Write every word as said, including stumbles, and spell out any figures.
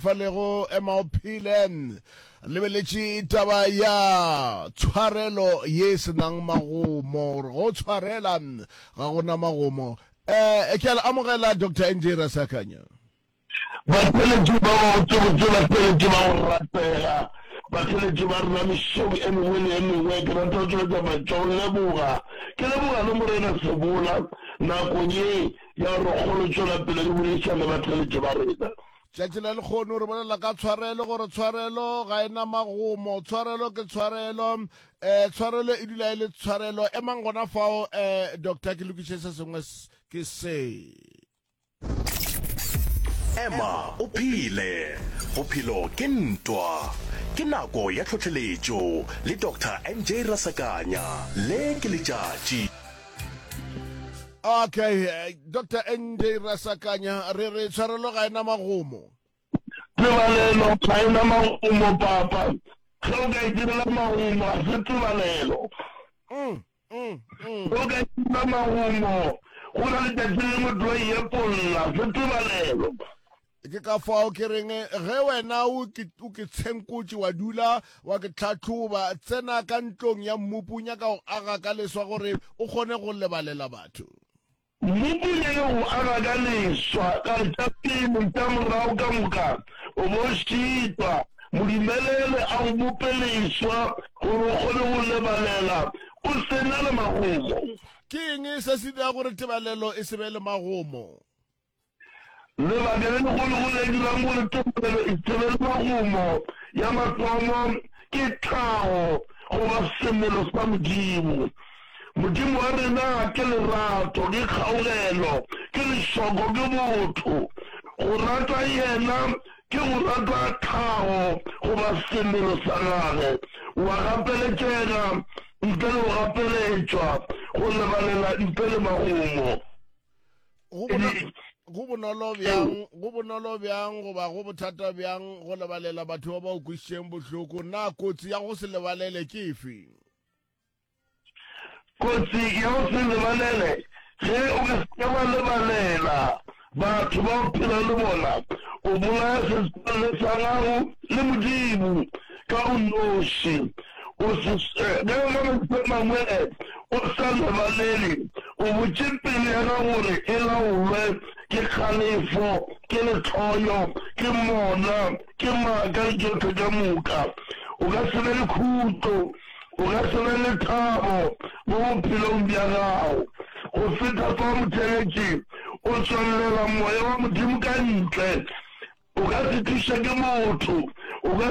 Falego ema o phele. Lebeletše taba ya tshwarelo ye e se nang magomo, gore go tshwarela ga go na magomo. Eh, ke a le amogela Doctor N J Rasakanya. Batheeletši ba babotsebotse, batheeletši ba go ratega, batheeletši ba rena mesong e mengwe le e mengwe, ke rata go tšweletša mantšu a go leboga. Ke leboga le Morena Sebola nakong ye ya gore re kgone go tšwela pele re boledišana le batheeletši ba rena. Tšatši la lekgono re bolela ka tshwarelo, gore tshwarelo ga e na magomo, tshwarelo ke tshwarelo, um tshwarelo e dula e le tshwarelo. Emang gona fao, um doctor, ke lokiše se sengwe ke se. Ema o phele, bophelo ke ntwa. Ke nako ya tlhohleletšo le Doctor N J Rasakanya. Le ke letšatši. Okay, Doctor N J Rasakanya, re re tshwarelo ga e na magomo. Tebalelo ga e na magomo, Papa. Ge o ka e direla magomo, ga se tebalelo. Mm, mm, mm. Ge o ka e direla magomo, go na letšatši le lengwe tlo e epolla, se tebalelo. Ke ka fao ke reng, ge wena o ke, o ke tshenkotše wa dula wa ke tlhahloba, tsena ka ntlong ya mmopi o nyaka go aga ka leswa gore o kgone go lebalela batho. Mmopi o nyaka go aga ka leswa, ka re tša pele, tša morago ka moka o bo šitwa. Mo dumelele a go bope leswa gore o kgone go lebalela o se na le magomo. Ke eng se se dirago gore tebalelo e se be le magomo? Lebaka le legolo le dirang gore tebalelo e se be le magomo ya mathomo ke tlhago goba semelo sa Modimo. Modimo wa rena ke lerato, ke kgaugelo, ke lešoko, ke botho. Go rata yena ke go rata tlhago goba semelo sa gagwe. O a gapeletšega ntle le go gapeletšwa, go lebalela ntle le magomo. Go bono, go bonolo bjang, go bonolo bjang goba go bothata bjang go lebalela batho ba ba o kwišitšeng bohloko? Na kotsi ya go se lebalele ke efe? Kotsi ya go se lebalele, Ge o ka se ke wa lebalela batho ba o phelago le bona, o bolaya setswalle sa gago le Modimo ka o noši. O se, ge ka mantšu a mangwe o sa lebalele, o botše pelo ya gago gore e laolwe ke kgalefo, ke lehloyo, ke mona, ke maaka le tšohle ka moka. O ka se be le khutšo, o ka se be le thabo mo bophelong bja gago. Go feta fao, motheeletši, o tswallela moya wa Modimo ka ntle. O ka se thuše ke motho, o ka